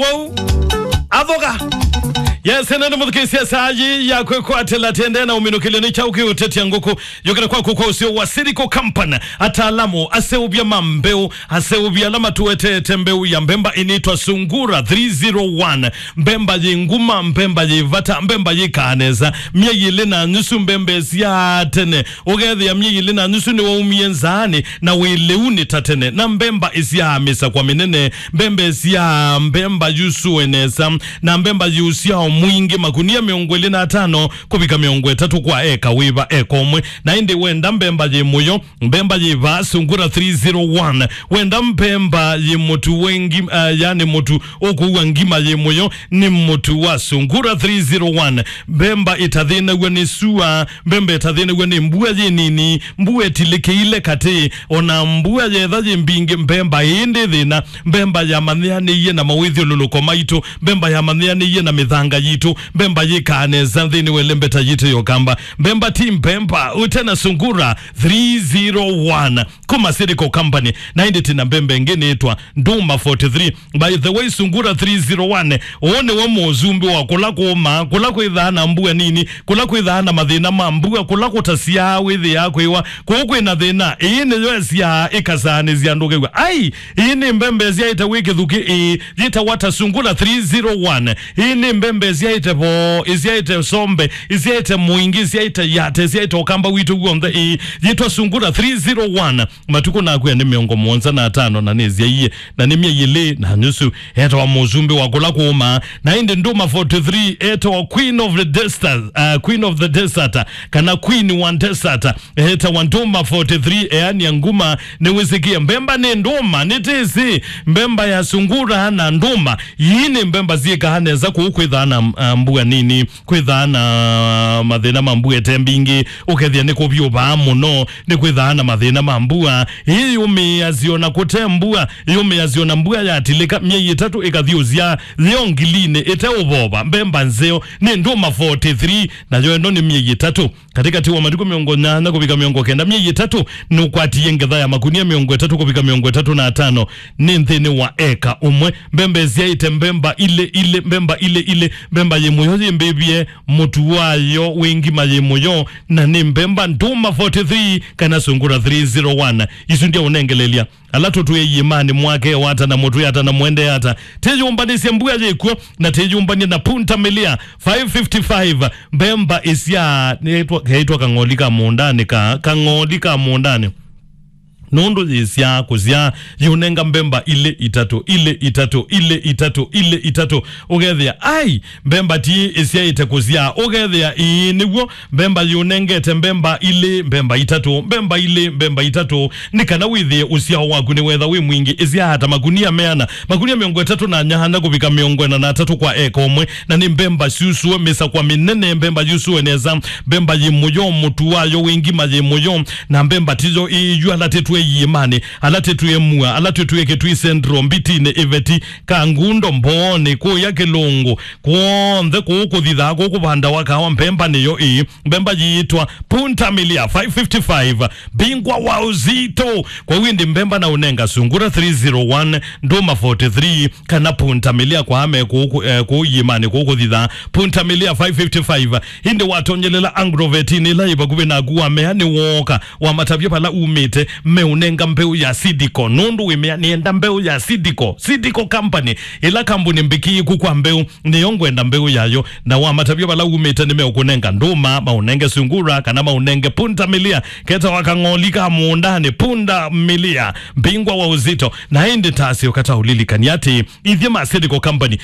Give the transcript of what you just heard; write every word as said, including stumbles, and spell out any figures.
Wow. Athoka. Yes, ene nĩ mũthukĩĩsya saa yĩ ya kwĩkwatĩla tende na ũminũkĩlyo nĩ kyaũ kĩũtetya ngũkũ. Yũkĩte kwaku kwa ũseo wa Silico Company, ataalamu, aseũvya ma mbeũ, aseũvya ala matũetete mbeũ ya mbemba ĩnĩtwa Sungura three zero one. Mbemba yĩ nguma, mbemba yĩ vata, mbemba yĩkaa nesa. Myei ĩlĩ na nusu mbemba ĩsyaa tene. Ũkethĩa myei ĩlĩ na nusu nĩwaumie nzaanĩ, na wĩ lĩu nĩ ta tene. Na mbemba ĩsyaa mĩsakwa mĩnene, mbemba ĩsyaa mbemba yusũe nesa, na mbemba yĩ ũsyao mwingĩ, makunia mĩongo ĩlĩ na atano kũvika mĩongo ĩtatũ kwa eka wĩva eka ũmwe. Na ĩndĩ wenda mbemba yĩ mũyo, mbemba yĩ vaa Sungura three zero one. Wenda mbemba yĩ mũtu wengi, uh, yani mũtu ũkũua ngima yĩ mũyo, nĩ mũtu wa Sungura three zero one. Mbemba ĩtathĩnaw'a nĩ sua, mbemba ĩtathĩnaw'a nĩ mbua yĩ nini, mbua ĩtilĩkĩile katĩ, ona mbua yetha yĩ mbingĩ, mbemba ĩĩ ndĩ thĩna. Mbemba yamanyĩanĩie na mawĩthyũlũlũko maitũ, mbemba yamanyĩanĩie na mĩthanga yitũ, mbemba yĩkaa nesa nthĩnĩ wa ĩlembeta yitũ ya ũkamba. Mbemba ti mbemba, ũte na Sungura three zero one. Kuma Silico Company, na ĩndĩ tĩna mbemba ĩngĩ nĩĩtwa Nduma forty-three. By the way, Sungura three zero one, ũũ nĩwe mũsumbĩ wa kũla kũũmaa, kũla kwĩthaa na mbua nini, kũla kwĩthaa na mathĩna ma mbua, kũla kũtasyaa wĩthĩaa kwĩwa, kũu kwĩna thĩna. Ĩĩ nĩyo ĩsyaa ĩkasaanĩsya andũ kew'a. Ai, ĩĩ nĩ mbemba ĩsyaĩte wĩ kĩthukĩ, ĩĩ, yĩtawa ta Sungura three zero one. Ĩĩ nĩ mbemba ĩsyaĩte voo, ĩsyaĩte sombe, ĩsyaĩte mũingĩ, ĩsyaĩte yate, ĩsyaĩte ũkamba witũ w'onthe, ĩĩ, yĩtwa Sungura three zero one. Matukũ nakwĩa nĩ mĩongo mũonza na atano na nĩsyaie, na nĩ myei ĩlĩ na nusu. Etawa mũsumbĩ wa kũla kũũmaa. Na ĩndĩ Nduma forty-three etawa Queen of the Desert, uh, Queen of the Desert, kana Queen wa Desert. Etawa Nduma forty-three, eania nguma, nĩwĩsĩkie. Mbemba nĩ ndũma, nĩtĩsĩ. Mbemba ya Sungura na ndũma. Ii nĩ mbemba syĩkaa nesa kũu kwĩthaa na, uh, mbua nini. Kwĩthaa na mathĩna ma mbua ĩte mbingĩ, ũkethĩa nĩ kũvyũvaa mũno, nĩ kwĩthaa na mathĩna ma mbua. Ĩĩ yũmĩĩasya ona kũte mbua, yũmĩĩasya ona mbua yatilĩka, myei ĩtatũ ĩkathi ũsyaa, yĩ o ngilinĩ, ĩte ũvova, mbemba nzeo, nĩ ndũma forty-three, nayo ĩno nĩ myei ĩtatũ. Katĩkatĩ wa matukũ mĩongo nyanya kũvika mĩongo kenda, myei ĩtatũ, nũkwatie ngetha ya makunia mĩongo ĩtatũ kũvika mĩongo ĩtatũ na atano nĩ nthĩnĩ wa eka ũmwe. Mbemba ĩsyaĩte mbemba ilĩ ilĩ, mbemba ilĩ ilĩ, mbemba yĩ mũyo yĩmbĩvye, mũtu wayo wĩ ngima yĩ mũyo, na nĩ mbemba ndũma forty-three kana Sungura three zero one. Isu ndia ũnengelelya. Ala tũtwĩe iĩmanĩ mwake wata na mũtwĩ ata na mwende ata. Tĩyũmbanĩsye mbua yĩkw'o na tĩyũmbany'e na Punta Milia five fifty-five. Mbemba ĩsyaa, nĩtwa, keĩtwa kang'oli ka mũũndanĩ ka, kang'oli ka mũũndanĩ. Nũndũ yĩsyaa kũsyaa, yĩũnenga mbemba ilĩ itatũ, ilĩ itatũ, ilĩ itatũ, ilĩ itatũ. Ũkethĩa, ai, mbemba ti ĩsyaĩte kũsyaa. Ũkethĩa, ĩĩ nĩw'o, mbemba yĩũnengete mbemba ilĩ, mbemba itatũ, mbemba ilĩ, mbemba itatũ. Nĩ kana wĩthĩe ũsyao waku nĩwetha wĩ mwingĩ. Ĩsyaa ta makunia meana, makunia mĩongo ĩtatũ na nyanya kũvika mĩongo ĩna na atatũ kwa eka ũmwe. Na nĩ mbemba syusũe mĩsakwa mĩnene, mbemba yusũe nesa, mbemba yĩ mũyo, mũtu wayo wĩ ngima yĩ mũyo, na mbemba tiyo ĩyu ala tĩtwĩe iĩmanĩ, ala tĩtwĩe mua, ala tĩtwĩe Kĩtui Central, Mbitinĩ, Ĩveti, Kangundo, Mbooni, kũya Kĩlũngũ, kw'onthe kũu kũthithaa kũu kũvandawa kawa, mbemba nĩyo ĩĩ. Mbemba yĩĩtwa Punta Milia five fifty-five, mbingwa wa ũzito. Kwa windi mbemba na ũnenga Sungura three zero one, Ndũma forty-three, kana Punta Milia kwa ame kũu, eh, kũu iĩmanĩ kũu kũthithaa. Punta Milia five fifty-five. Ĩndĩ watonyelela Agrovetinĩ ĩla yĩ vakuvĩ naku, wamea nĩwooka, wamatavya vala umĩte, meũnenga mbeũ ya Seedco. Nũndũ wĩmea, "Nĩenda mbeũ ya Seedco." Seedco Company, ĩla kambuni mbĩkĩĩku kwa mbeũ, nĩyo ngwenda mbeũ yayo. Na wamatavya vala umĩte, nĩmeũkũnenga ndũma, maũnenge sungura, kana maũnenge Punta Milia. Ketawa kang'oli ka mũũndanĩ, Punta Milia, mbingwa wa ũzito. Na ĩndĩ tasyo kata ũlilikani atĩ, ithyĩ ma Seedco Company,